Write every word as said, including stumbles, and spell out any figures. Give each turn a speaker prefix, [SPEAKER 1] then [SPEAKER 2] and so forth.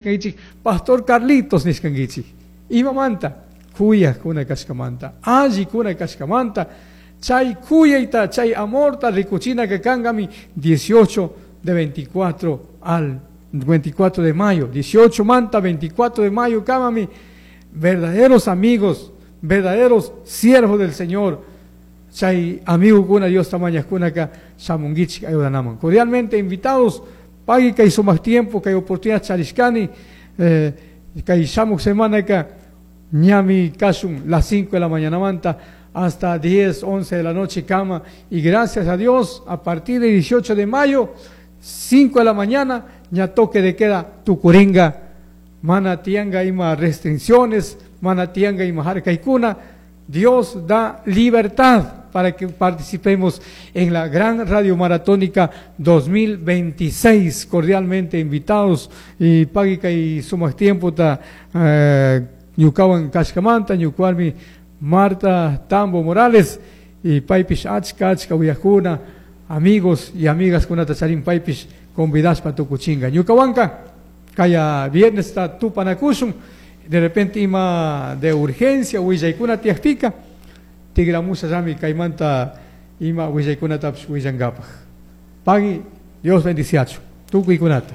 [SPEAKER 1] Kankichik Pastor Carlitos nishkankichik imamanta kuyakuna kashkamanta allikuna kashkamanta chay kuyayta chay amorta rikuchinaka kankami dieciocho de veinticuatro al veinticuatro de mayo, dieciocho manta veinticuatro de mayo kamami verdaderos amigos, verdaderos siervos del Señor, chay amigokuna Dios tamañajkunaka shamunkichik ayudanaman. Cordialmente invitados, pagui kay sumak tiempo, kay oportunidad charishkani, eh, kay shamuk semanaka ñami kashun las cinco de la mañana manta hasta diez, once de la noche cama, y gracias a Dios a partir del dieciocho de mayo, cinco de la mañana, ya toque de queda tucuringa, mana tianga ima restricciones, mana tianga ima harkaikuna. Dios da libertad para que participemos en la gran radio maratónica dos mil veintiséis. Cordialmente invitados y pagui y sumas tiempo ta, eh, ñukawan kashkamanta, ñukuarmi Marta Tambo Morales y paypish achka achka uyajuna, amigos y amigas kunata charin paypish convidashpa tukuchinga. Ñukawanka kaya viernes ta tupanakushun, de repente ima de urgencia willaykuna tiyakpika tigramusa llami kaymanta ima willaykunatapish willankapaj. Pagui, Dios bendiciachu tukuykunata.